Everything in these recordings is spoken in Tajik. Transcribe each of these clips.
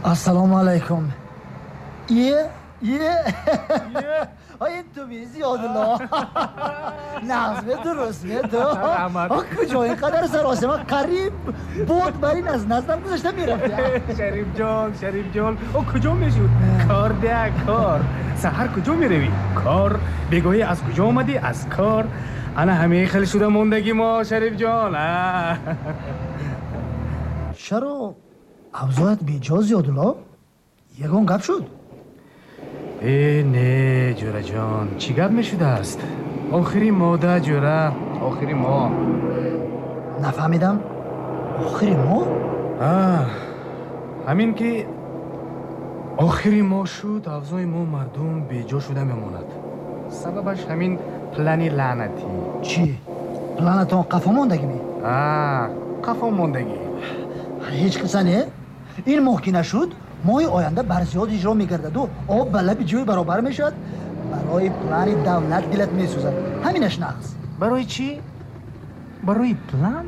Ассалому алайкум. Е, е. Ин ту ми, Зиёдулло? Нағз дуруст ту. Куҷо ин қадар саросема? Қариб бод бар ин аз наздам гузашта мерафт. Шарифҷон, Шарифҷон, о куҷо мешуд? Кор дея, кор. Саҳар куҷо меравӣ? Кор. Бегоҳӣ аз куҷо омадӣ? Аз кор. Ана ҳамин хел шуда мондагӣ мо, Шарифҷон. Чаро авзоят беҷо, Зиёдулло? Ягон гап шуд? Э, не, ҷӯраҷон, чӣ гап мешудааст? Охири мода, ҷӯра, охири моҳ. Нафаҳмидам, охири моҳ? Ҳамин ки охири моҳ шуд, авзои мо мардум беҷо шуда мемонад. Сабабаш ҳамин плани лаънатӣ. Чӣ, планатон қафо мондагӣ ме? Қафо мондагӣ. Ҳеҷ қисса не, ин моҳ ки нашуд, моҳи оянда барзиёд иҷро мегардаду об ба лаби ҷӯй баробар мешавад. Барои плани давлат дилат месӯзад, ҳаминаш нағз. Барои чӣ? Барои план?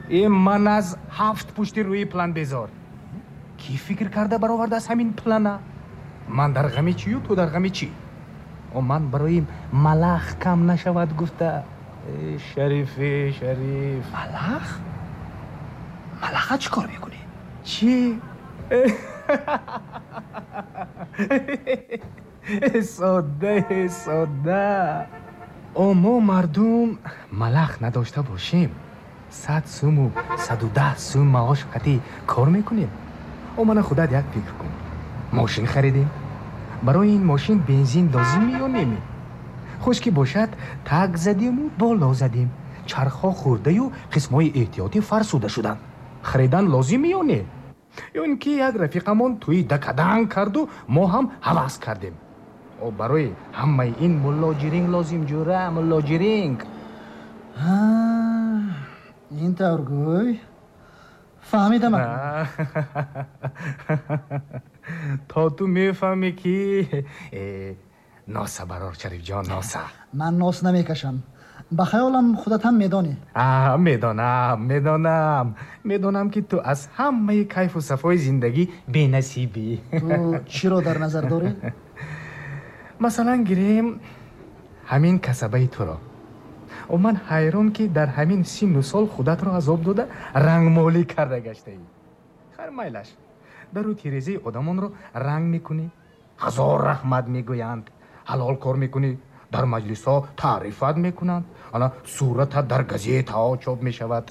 Э, ман аз ҳафт пушти рӯи план безор. Кӣ фикр карда баровардааст ҳамин плана? Ман дар ғами чию ту дар ғами чӣ? О, ман барои малах кам нашавад гуфта. Шарифе, Шариф. Малах? Малаха чӣ кор мекунӣ? Чӣ? Содда, содда. О, мо мардум малах надошта бошем, 100 суму 110 сум маош қатӣ кор мекунем. О, мана худат як фикр кун. Мошин харидем, барои ин мошин бензин лозим ё неме? Хуш ки бошад, так задему боло задем, чархҳо хӯрдаю қисмҳои эҳтиётӣ фарсуда шуданд. Харидан лозим ё не? Ё ин ки як рафиқамон тӯи дакаданг карду мо ҳам ҳавас кардем. О, барои ҳамаи ин муллоҷиринг лозим, ҷӯра, муллоҷиринг. Ин тавр гӯй, фаҳмидам. То ту мефаҳмӣ ки носа барор, Шарифҷон, носа. Ман нос намекашам. Ба хаёлам, худат ҳам медонӣ. Медонам, медонам, медонам, ки ту аз ҳамаи кайфу сафои зиндагӣ бенасибӣ. Ту чиро дар назар дорӣ? Масалан, гирем ҳамин касабаи туро. О, ман ҳайрон, ки дар ҳамин синну сол худатро азоб дода рангмолӣ карда гаштаӣ. Хайр, майлаш, дару тирезаи одамонро ранг мекунӣ, ҳазор раҳмат мегӯянд. Ҳалол кор мекунӣ, дар маҷлисҳо таърифат мекунанд, ана суратат дар газетаҳо чоп мешавад.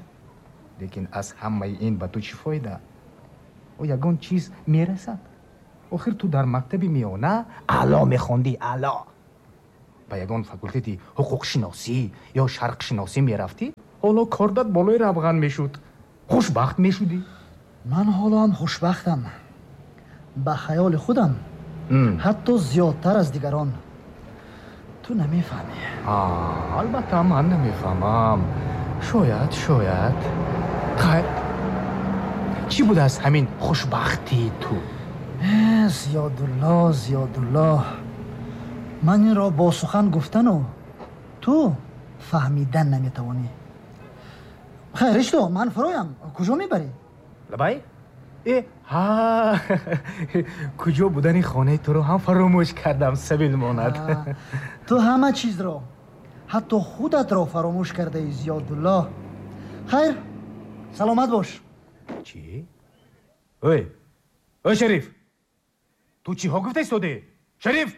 Лекин аз ҳамаи ин ба ту чӣ фоида? О, ягон чиз мерасад? Охир ту дар мактаби миёна аъло мехондӣ, аъло. Ба ягон факултети ҳуқуқшиносӣ ё шарқшиносӣ мерафтӣ, ҳоло кордат болои равған мешуд, хушбахт мешудӣ. Ман ҳоло ҳам хушбахтам, ба хаёли худам, ҳатто зиёдтар аз дигарон. Ту намефаҳмӣ. Албатта, ман намефаҳмам. Шояд, шояд. Хайр, чӣ будааст ҳамин хушбахтии ту? Зиёдулло, Зиёдулло, ман инро бо сухан гуфтану ту фаҳмидан наметавонӣ. Хайр, ишто, ман фуроям. Куҷо мебарӣ? Лабай, э, ҳа, куҷо будани хонаи туро ҳам фаромӯш кардам, сабил монад. Ту ҳама чизро, ҳатто худатро фаромӯш кардаӣ, Зиёдулло. Хайр, саломат бош. Чӣ? Ой, ой, Шариф, ту чиҳо гуфта истодаӣ, Шариф?